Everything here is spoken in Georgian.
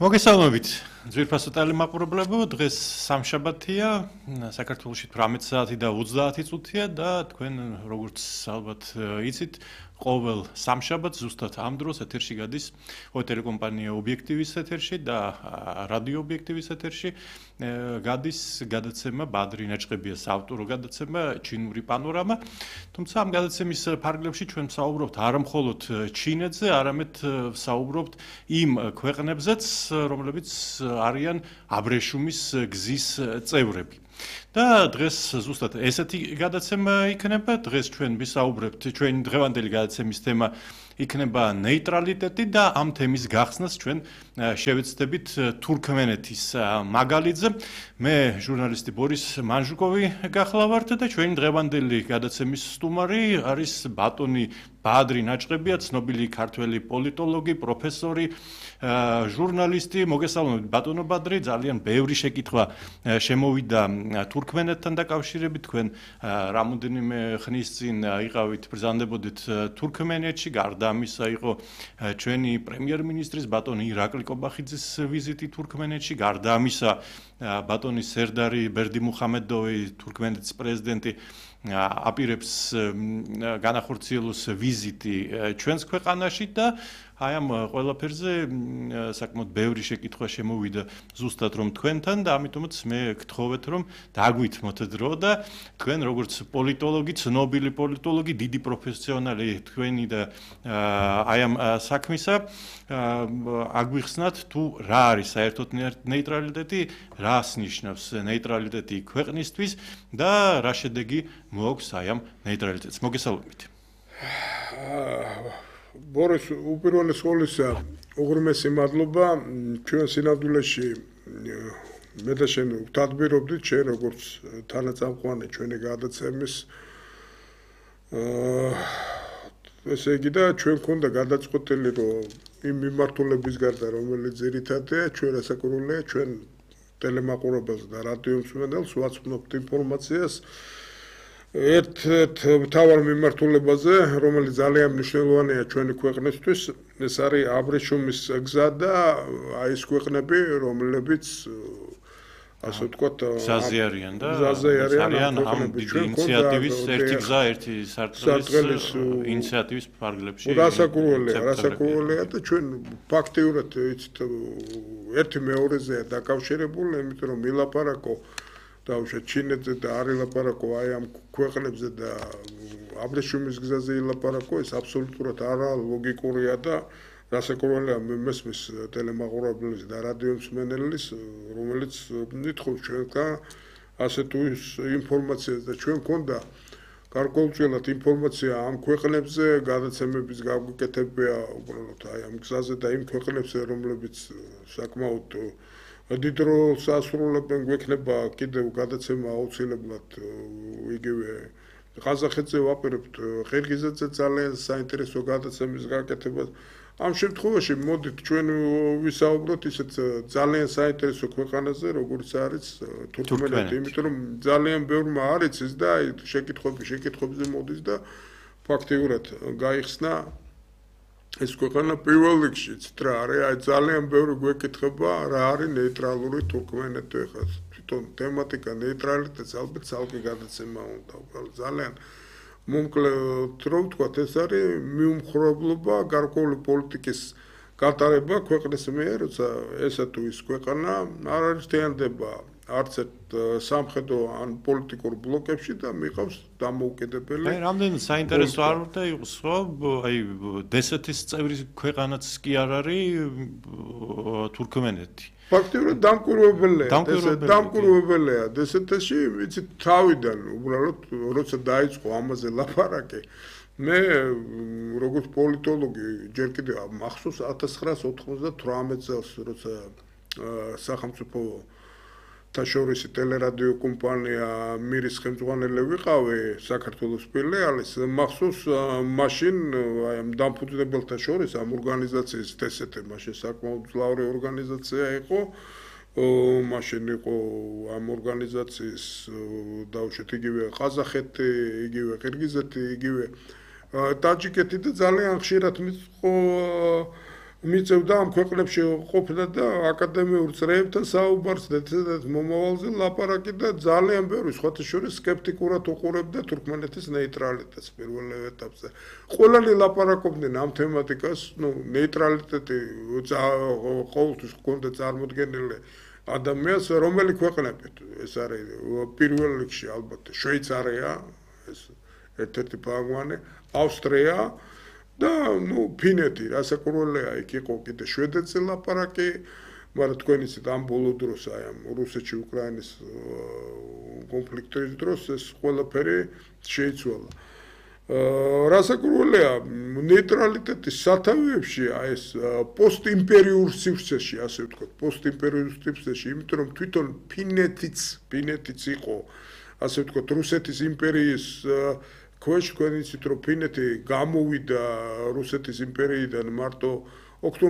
მოგესალმებით ძვირფასო ტელემაყურებლებო, დღეს სამშაბათია, საქართველოში 18 საათი და 30 წუთია და თქვენ როგორც ალბათ იცით, ყოველ სამშაბათს ზუსტად ამ დროს ეთერში გადის ტელეკომპანია ობიექტივის ეთერში და რადიო ობიექტივის ეთერში გადის გადაცემა ბადრი ნაჭყებია საავტორო გადაცემა ჩინური პანორამა. თუმცა ამ გადაცემის ფარგლებში ჩვენ ვსაუბრობთ არა მხოლოდ ჩინეთზე, არამედ ვსაუბრობთ იმ ქვეყნებზეც, რომლებიც არიან აბრეშუმის გზის წევრები. და დღეს ზუსტად ესეთი გადაცემა იქნება. დღეს ჩვენ ვისაუბრებთ, ჩვენი დღევანდელი გადაცემის თემა იქნება ნეიტრალიტეტი და ამ თემის გახსნას ჩვენ შევეცდებით თურქმენეთის მაგალითზე. მე ჟურნალისტი ბორის მანჟუკოვი გახლავართ და ჩვენი დღევანდელი გადაცემის სტუმარი არის ბატონი ბადრი ნაჭყებია, ცნობილი ქართველი პოლიტოლოგი, პროფესორი, ჟურნალისტი. მოგესალმებით ბატონო ბადრი, ძალიან ბევრი შეკითხვა შემოვიდა თურქმენეთთან დაკავშირებით. თქვენ რამოდენიმე ხნის წინ იყავით, ბრძანდებოდით თურქმენეთში, გარდა ამისა იყო ჩვენი პრემიერ-მინისტრის ბატონი ირაკლი კობახიძის ვიზიტი თურქმენეთში, გარდა ამისა ბატონი სერდარი ბერდიმუხამედოვი, თურქმენეთის პრეზიდენტი აპირებს განახორციელოს ვიზიტი ჩვენს ქვეყანაში და აი ამ ყველაფერზე საკმაოდ ბევრი შეკითხვა შემოვიდა ზუსტად რომ თქვენთან და ამიტომაც მე გთხოვეთ რომ დაგვითმოთ დრო და თქვენ როგორც პოლიტოლოგი, ცნობილი პოლიტოლოგი, დიდი პროფესიონალი თქვენი და აი ამ საქმისა აგვიხსნათ თუ რა არის საერთოდ ნეიტრალიტეტი, რას ნიშნავს ნეიტრალიტეტი ქვეყნისთვის და რა შედეგი მოაქვს აი ამ ნეიტრალიტეტს. მოგესალმებით. ბორის, უპირველეს ყოვლისა, უღრმესი მადლობა ჩვენ სინამდვილეში მე და შენ ვთადბირობდით შენ როგორც თანაწამყვანი ჩვენი გადაცემის ესე იგი და ჩვენ გქონდა გადაწყვეტილი რომ იმ მიმართულების გარდა რომელიც ძირითადია ჩვენ ასაკურველია ჩვენ ტელემაყურებელს და რადიო მსმენელს ვაცნობთ ინფორმაციას ერთ მთავარ მიმართულებაზე, რომელიც ძალიან მნიშვნელოვანია ჩვენი ქვეყნისთვის, ეს არის აბრეშუმის გზა და აი ეს ქვეყნები, რომლებიც ასე ვთქვათ, გზაზე არიან და ძალიან ამ ინიციატივის ერთი გზა, ერთი სარტყელის ინიციატივის ფარგლებში. რასაკურველია და ჩვენ ფაქტიურად იცით ერთი მეორეზეა დაკავშირებული, იმიტომ რომ მილაპარაკო დაუშვათ ჩინეთზე და არ ილაპარაკო აი ამ ქვეყნებზე და აბრეშუმის გზაზე ილაპარაკო, ეს აბსოლუტურად არა ლოგიკურია და რასაკურველია მესმის ტელემაყურებლის და რადიო მსმენელის, რომელიც ნითხობს ჩვენთან ასე თუ ის ინფორმაციას და ჩვენ გქონდა გარკვეულწილად ინფორმაცია ამ ქვეყნებზე, გადაცემების გაგვიკეთებია უბრალოდ აი ამ გზაზე და იმ ქვეყნებზე, რომლებიც საკმაოდ დიდ როლს ასრულებენ, გვექნება კიდევ გადაცემა აუცილებლად იგივე ყაზახეთზე ვაპირებთ, ყირგიზეთზე ძალიან საინტერესო გადაცემის გაკეთებას. ამ შემთხვევაში მოდით ჩვენ ვისაუბროთ ისეთ ძალიან საინტერესო ქვეყანაზე, როგორც არის თურქმენეთი, იმიტომ რომ ძალიან ბევრმა არ იცის და აი შეკითხვებზე მოდის და ფაქტიურად გაიხსნა ეს ქვეყანა პირველ რიგში რა არის, აი ძალიან ბევრი გვეკითხება რა არის ნეიტრალური თურქმენეთი, ხა თვითონ თემატიკა ნეიტრალიტეტს ალბათ ცალკე გადაცემა უნდა, ძალიან მომკლედ რომ ვთქვათ, ეს არის მიუმხრობლობა გარკვეული პოლიტიკის გატარება ქვეყნის მიერ, როცა ესა თუ ის ქვეყანა არ არის თიანდება არც ერთ სამხედრო ან პოლიტიკურ ბლოკებში და მიყავს დამოუკიდებელი. აი, რამდენი საინტერესო არ უნდა იყოს, ხო? აი, დსთ-ის წევრი ქვეყანაც კი არ არის თურქმენეთი. ფაქტიურად დამკვირვებელია დსთ-ში, იცით, თავიდან უბრალოდ როცა დაიწყო ამაზე ლაპარაკი, მე როგორც პოლიტოლოგი ჯერ კიდევ მახსოვს 1998 წელს, როცა სახელმწიფო შორისი ტელერადიო კომპანია მირის ხელმძღვანელი ვიყავი საქართველოს ფილიალის, მახსოვს მაშინ აი ამ დამფუძნებელთა შორის ამ ორგანიზაციის დსთ მაშინ საკმაოდ მძლავრი ორგანიზაცია იყო, მაშინ იყო ამ ორგანიზაციის დაუშვათ იგივე ყაზახეთი, იგივე ყირგიზეთი, იგივე ტაჯიკეთი და ძალიან ხშირად მიწყო მიწევდა ამ ქვეყნებში ყოფნა და აკადემიურ წრეებთან საუბარს და მომავალზე ლაპარაკი და ძალიან ბევრი სხვათა შორის სკეპტიკურად უყურებდა თურქმენეთის ნეიტრალიტეტს პირველ ეტაპზე. ყველანი ლაპარაკობდნენ ამ თემატიკას, ნეიტრალიტეტი ყოველთვის ჰქონდა წარმოდგენილი ადამიანს, რომელი ქვეყნებით ეს არის პირველ რიგში ალბათ შვეიცარია, ეს ერთ-ერთი ფარგლანი, ავსტრია და ფინეთი, რასაკვირველია, იქ იყო კიდე შვედეთზე ლაპარაკი, მაგრამ თქვენ იცით ამ ბოლო დროს აი ამ რუსეთში უკრაინის კონფლიქტის დროს ეს ყველაფერი შეიცვალა. რასაკვირველია, ნეიტრალიტეტის სათავეებში აი ეს პოსტიმპერიურ სივრცეში, ასე ვთქვათ, პოსტიმპერიურ სივრცეში, იმიტომ რომ თვითონ ფინეთიც იყო, ასე ვთქვათ, რუსეთის იმპერიის ქვეშ, თქვენ იცით, რომ ფინეთი გამოვიდა რუსეთის იმპერიიდან მარტო ოქტომბრის